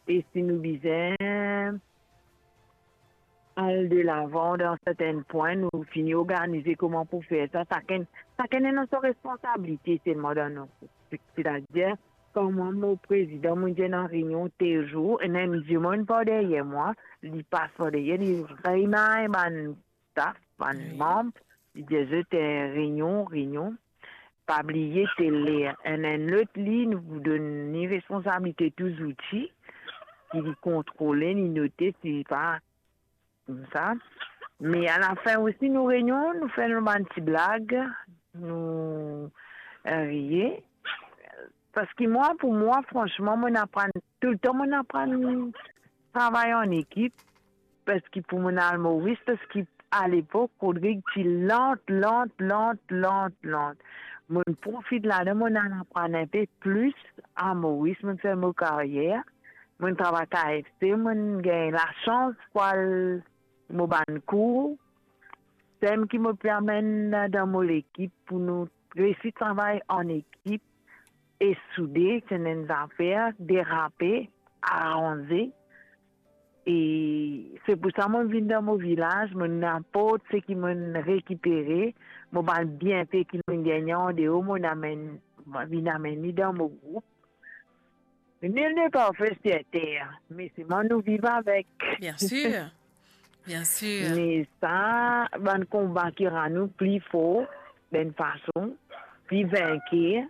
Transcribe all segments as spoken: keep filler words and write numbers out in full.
E si nou bizin al delavan dan sertin pwin, nou fini organize kouma pou fer sa. Sakenn, sakenn ena so responsabilite selman dan nou. Setadir, kan mwa, mo prezidan, mo dir ena reynion tel zour, ena enn dimoun par deryer mwa, li pas par deryer, li rimay bann staf, bann manb, li dir zot, eh, reynion, reynion. Pa bliye tel ler. Enn, enn lot li, nou pou donn li responsabilite tou zouti, ki li kontrole, li note, si pa koumsa. Me alafin osi, nou reynion, nou fer nou bann ti blag, nou, eh, riye. Parski mwa, pou mwa, fransman, mo'nn aprann, toultan mo'nn aprann travay an ekip, parski pou mo'nn al Moris, parski alepok, Rodrig ti lant, lant, lant, lant, lant. Mo'nn profit ladan, mo'nn al aprann inpe plis a Moris, mo'nn fer mo karyer, mo'nn travay K F C, mo'nn gagn lasans pou al mo bann kour, sem ki mo pe amenn dan mo lekip pou nou resi travay an ekip e soude, ti ena enn zafer, derape, aranze. E se pou sa mo vinn dan mo vilaz, mo ninport seki mo rekipere, mo bann bienfe ki mo gagne andeor, mo amenn, mo vinn amenn li dan mo group. Nul n'est parfait sur terre, me selman nou viv avek. Bien sir, bien sir. Me sa, bann konba ki rann nou pli for, dan enn fason, pli vinker.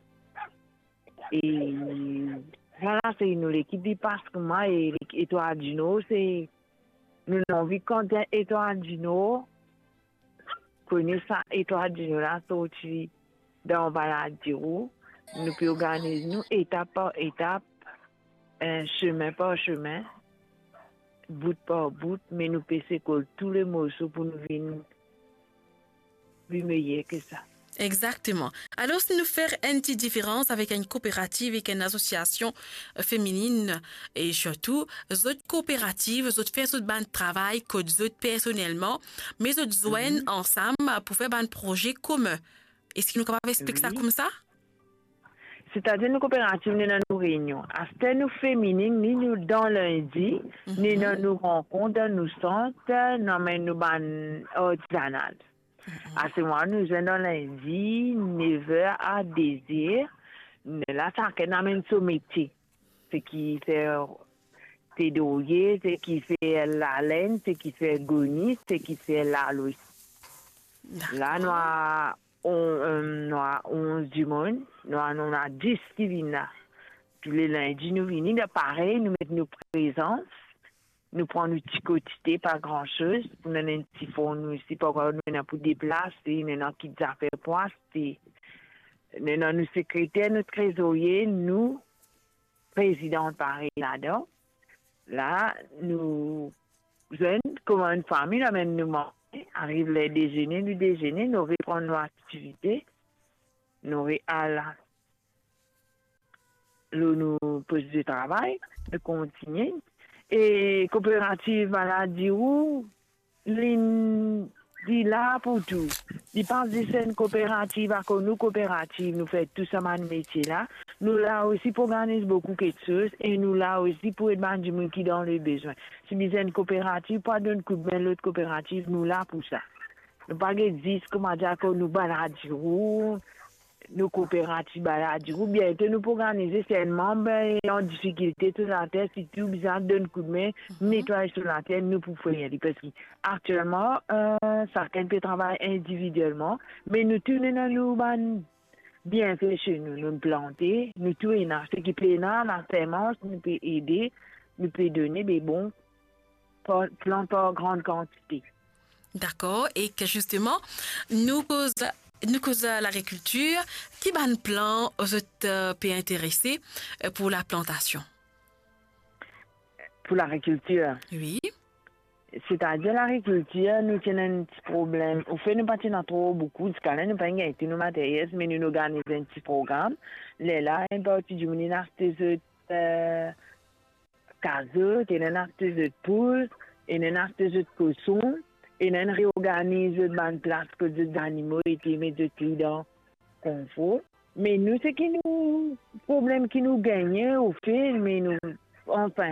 E vwala, se nou lekip li pas kouma, e Etwal di Nor, se nou anvi kont Etwal di Nor, kone sa Etwal di Nor la sorti dan Baladiro, nou pe organiz nou etap par etap, eh, sime par sime, bout par bout, me nou pe sekol tou le morso pou nou vinn pli meyer ki sa. Exactement. Alors, si nou fer enn ti diferans avek enn kooperativ, avek enn asosiasion, euh, feminine, e sirtou, zot kooperativ, zot fer zot bann travay kot zot personelman, me zot zwenn ansam pou fer bann proze komin. Eski nou kapav explik sa koumsa? Setadir nou kooperativ, nou ena nou reynion. Aster nou feminine, ni nou dan lindi, nou ena nou rankont dan nou sant, nou amenn nou bann artizanal. Aster mwa nou zwenn dan lindi, nev er a de er. Nou la, sakenn amenn so metie. Seki fer, se dorye, seki fer lalenn, seki fer goni, seki fer lalwis. La, nou a on, euh, nou a onz dimoun, nou a, nou a dis ki vinn la. Tou le lindi nou vini, dan parey, nou met nou prezans, nou pran nou ti kotite, pa gran soz, pou nou ena enn ti forn osi, parski nou ena pou deplase, nou ena kit zafer pou aste, nou ena nou sekreter, nou trezorie, nou prezidan parey ladan. La, nou zwenn kouma enn fami, nou amenn nou manze, ariv ler dezene, nou dezene, nou repran nou aktivite, nou real lor nou post de travay, nou kontigne. E kooperativ Baladiro, li, li la pou tou. Li pa zis enn kooperativ, akoz nou kooperativ, nou fer tou sa bann metie la. Nou la osi pou organiz boukou kiksoz e nou la osi pou ed bann dimoun ki dan lebezwin. Si bizin enn kooperativ pou al donn koudme lot kooperativ, nou la pou sa. Nou pa gete zis, kouma dir, akoz nou Baladiro, nou kooperativ Baladiro, biento nou pou organize si enn manb, eh, an difikilte sou later, si tou bizin donn koudme, netway sou later, nou pou fer li. Parski aktielman, eh, sakenn pe travay individielman, me nou tou nou ena nou bann bienfe se nou, nou plante, nou tou ena, seki pena, lasemans, nou pe ede, nou pe done, be bon, pa, plant par gran kantite. Dakor, e ke zisteman, nou koz, nou koz lagrikiltir, ki bann plan zot, euh, pe interese, euh, pou laplantasion? Pou lagrikiltir? Wi. Setadir lagrikiltir, nou ti ena enn ti problem. Anfet, nou pa ti ena tro boukou, ziska la nou pa gagn tou nou materyel, me nou, nou organiz enn ti program. Lerla, enn parti dimoun inn aste zot, euh, kazot, ena inn aste zot poul, ena inn aste zot koson, ena inn reorganiz zot bann plas kot zot zanimo ete, met zot li dan konfor. Me nou, seki nou, problem ki nou gagne, anfet, me nou, anfin,